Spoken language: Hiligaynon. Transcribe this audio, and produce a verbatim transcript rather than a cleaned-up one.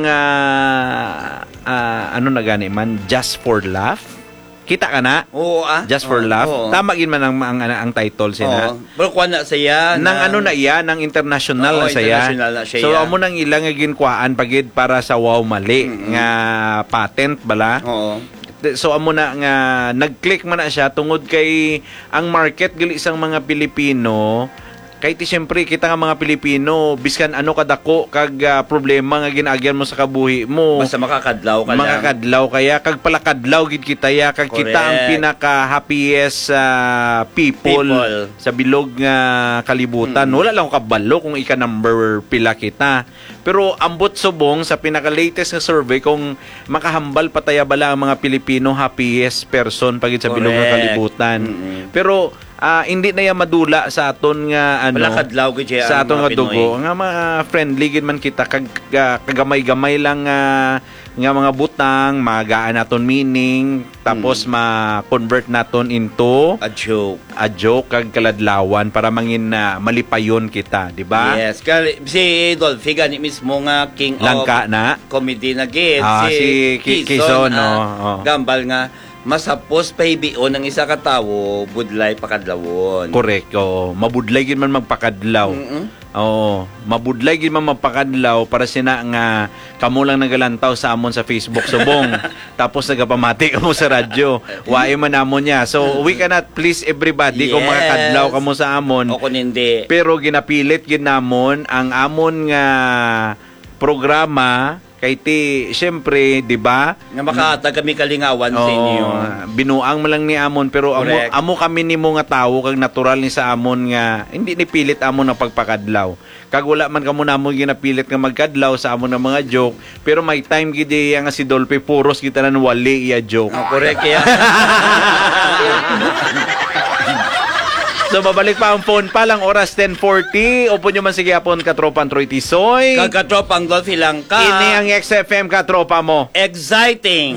nga, ah, ano na gani man, Just for Laugh? Kita ka na? Oo, ah. Just for Oo, Laugh? oo. Tama gid man ang, ang, ang, ang title siya na. Oo. Pero kuha na siya Nang ng ano na iya, nang international Oo, na siya. international na siya, So, yeah. amo nang ilang nga ginkuhaan pa gid para sa Wow Mali Mm-mm. nga patent bala. Oo. Th- So, amo na nga nag-click man na siya tungod kay ang market gali sang mga Pilipino kay ti siyempre kita nga mga Pilipino, biskan ano kadako kag, ah, problema nga ginaagyan mo sa kabuhi mo, Basta makakadlaw ka lang. makakadlaw kaya kag palakadlaw gid kita ya kag kita ang Correct. pinaka happiest, ah, people People. sa bilog nga kalibutan. Mm. Wala lang ko kabalo kung ika number pila kita. Pero ambot subong sa pinaka-latest nga survey kung makahambal pa taya bala ang mga Pilipino happiest person pa gid sa bilog nga Correct. kalibutan. Mm-mm. Pero ah, hindi na ya madula sa aton nga ano Wala kadlaw gid siya sa ang aton mga nga dugo Pinoy. nga mga friendly gid man kita kag ah, kagamay-gamay lang nga nga mga butang magaan naton meaning tapos Hmm. ma-convert naton into A joke. a joke kag kaladlawan para mangin ah, malipayon kita, di ba? Yes, kay si Dolphy gani mismo nga king Langka of na. comedy na gid Ah, si si Ki- Kison, Kison, ah, oh, oh. gambal nga mas hapos pahibion ang isa ka tawo, budlay pakadlawon. Correct, oo. Mabudlay gid man magpakadlaw. Mm-mm. Oo, mabudlay gid man magpakadlaw para sina nga kamo lang nagalantaw sa amon sa Facebook subong. Tapos nagapamati kamo sa radyo. Waay man amon niya. So, we cannot please everybody kung Yes. makakadlaw kamo sa amon. O kung hindi. Pero ginapilit gid namon ang amon nga programa kay ti, siyempre, di ba? Nga makahatag kami kalingawan sa Oo, inyo. binuang man lang ni amon, pero amo, Correct. amo kami nimo nga tawo kag natural ni sa amon nga hindi ni pilit amon ang pagpakadlaw. Kag wala man kamo namon ginapilit nga magkadlaw sa amon nga mga joke, pero may time gid iya nga si Dolphy puros kita nan wali iya joke. Oh, correct, yeah. So, mabalik pa ang phone pa lang, oras ten forty. Upo nyo man sige hapon, katropang Troy Tisoy. Kag katropang Dolphy Langka. Ini ang X F M, katropa mo. Exciting.